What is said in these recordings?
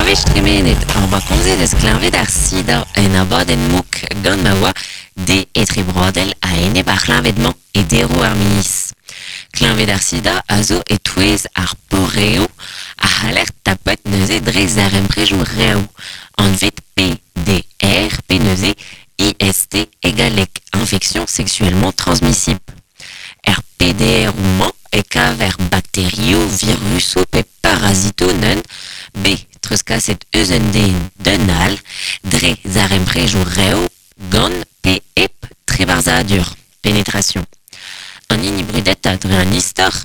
wech tremenet hor boa komzet eus kleñved ar sida en abadenn mouk gant ma oa de etrebroadel a-enep ar c'hleñved-mañ e deroù ar miz. Kleñved ar sida a zo e-touez ar poreoù a c'haller tapet neuze dre zarempredoù rev, anvet PDR pe neuze IST e galleg, infection sexuellement transmissible. Er PDR-mañ e kaver bakterioù, virusoù pe parazitoù neun bet treuzkaset eus un den d'un all dre zarempredoù rev gant pe hep trebarzhadur, pénétration. An hini brudetañ dre an istor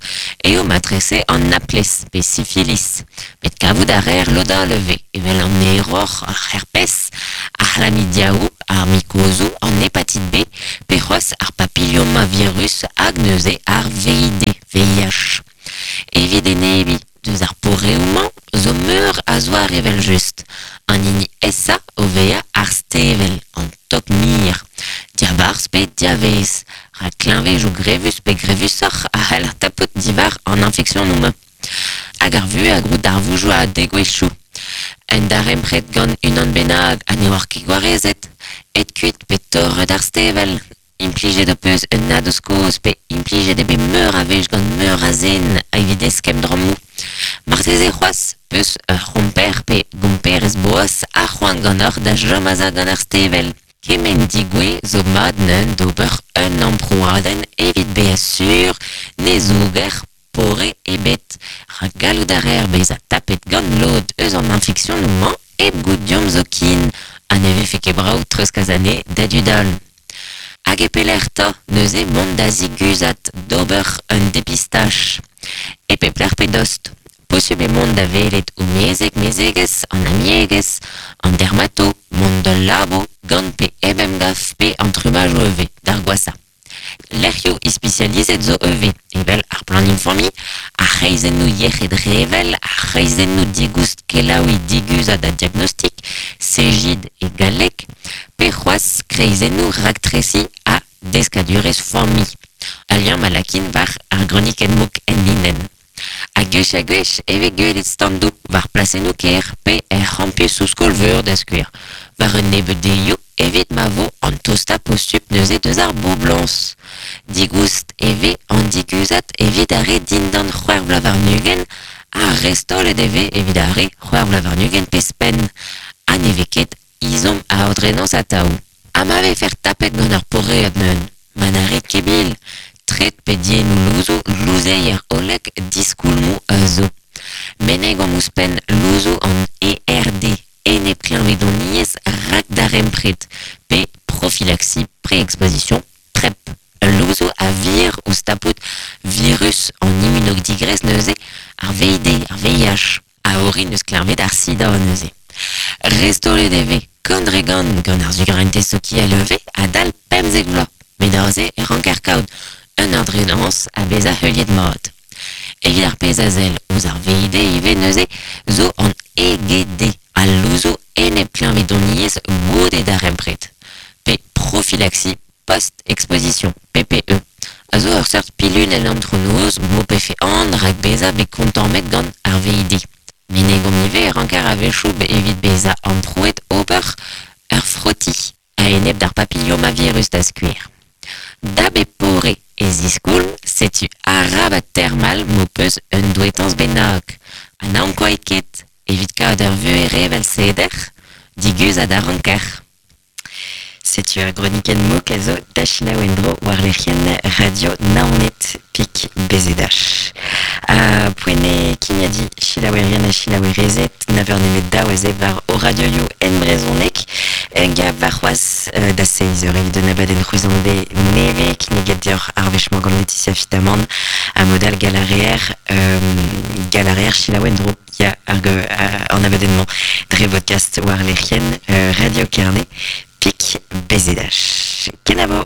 eo matrese an naplez pe sifilis, met kavout a reer lod all ivez, evel an eror, ar herpes, ar c'hlamidiaoù, ar mikozoù, an hepatit B pe c'hoazh ar papillomavirus hag neuze ar VID, VIH. Evit enebiñ deus ar poreoù-mañ zo meur a zoare evel-just. An hini aesañ o vezañ ar stevel, an tog-mir, diabarzh pe diavaez, rak kleñvedoù grevus pe grevusoc'h a c'haller tapout diwar an infeksionoù-mañ. Hag ar vuhez a grou darvoudoù ha degouezhioù. Un darempred gant unan bennak ha ne oar ket gwarezet, aet kuit pe torret ar stevel. Implijet ho peus un nadoz-kozh pe implijet eo bet meur a wech gant meur a zen evit eskemm drammoù. Marteze c'hoazh peus ur c'homper pe gomperez boas ha c'hoant ganeoc'h da chom aze gant ar stevel. Kement degouezh zo mat neuze d'ober un amprouadenn evit bezañ sur ne zouger pore ebet, rak gallout a reer bezañ tapet gant lod eus an infeksionoù-mañ hep goût deomp zoken, ha ne vefe ket brav treuzkas anezhe da dud all. Hag e pelec'h 'ta neuze mont da ziguzhat d'ober un depistaj? E pep lec'h pe dost. Posubl eo mont da welet o mezeg, mezegez, an amiegez, an dermato, mont d'ul labo gant pe hep emgav pe an trummajoù ivez, d'ar gwashañ. Lec'hioù ispisializet zo ivez, evel ar planning familh, ar c'hreizennoù yec'hed revel, ar c'hreizennoù digoust kelaouiñ diguzhat ha diagnostik, Cegid e galleg, pe c'hoazh kreizennoù raktresiñ ha deskadurezh familh. Al liamm a lakin war ar gronikenn-mouk enlinenn. Ha gwech ha gwech e vez gwelet standoù war plasennoù kêr pe er c'hampusoù skol-veur da skouer, war un nebeud deioù evit ma vo an tostañ posupl neuze deus ar boblañs. Digoust e vez an diguzhat evit ar re dindan c'hwec'h vloaz warn-ugent ha restaolet e vez evit ar re c'hwec'h vloaz warn-ugent pe 'zhpenn ha ne vez ket ezhomm a aodrenañs atav. Ha ma vefec'h tapet gant ur poread neuze, ma na rit ket bil, tret pe diennoù louzoù louzeier hollek diskoulmoù a zo. Menegomp ouzhpenn louzoù an ERD, enepkleñvedoniezh rakdarempred, pe prophylaxie pré-exposition, PrEP. Ul louzoù a vir ouzh tapout virus an immunodigrez neuze, ar VID, ar VIH. A orin eus kleñved ar sida neuze. Restaolet e vez gant dre gant gant ar sugrentez sokial ivez adal 15 vloaz, met aze e ranker kaout un ordrenañs ha bezañ heuliet mat. Evit ar pezh a sell ouzh ar VID ivez neuze zo an EGD, al louzoù enep-kleñvedoniezh goude darempred, pe prophylaxie post-exposition, PPE, a zo ur seurt pilunenn antronoz m'ho pefe aon rak bezañ bet kontammet gant ar VID. Menegomp ivez e ranker a-wechoù evit bezañ amprouet ober ur froti a-enep d'ar papillomavirus da skouer. Da bep pore e ziskoulm, setu arabat termal m'ho peus un douetañs bennak. Ha na ankouait ket, evit kaout ur vuhez revel seder, diguzhat a ranker. Setu ar gronikenn mouk a zo da selaou en-dro war lec'hienn Radio Naoned pik BZH. Ha poent eo kimiadiñ selaouerien ha selaouerezed na veur nemet daou aze war o radioioù en brezhoneg. Hag warc'hoazh da seizh eur evit un abadenn c'hwezanve nevez kinniget deoc'h ar wech-mañ gant Laetitia Fitamant ha mod all gall a reer gall a reer selaou en-dro. Ya, ar an abadenn-mañ dre vodcast war lec'hienn Radio Kerne, pik BZH. Kenavo!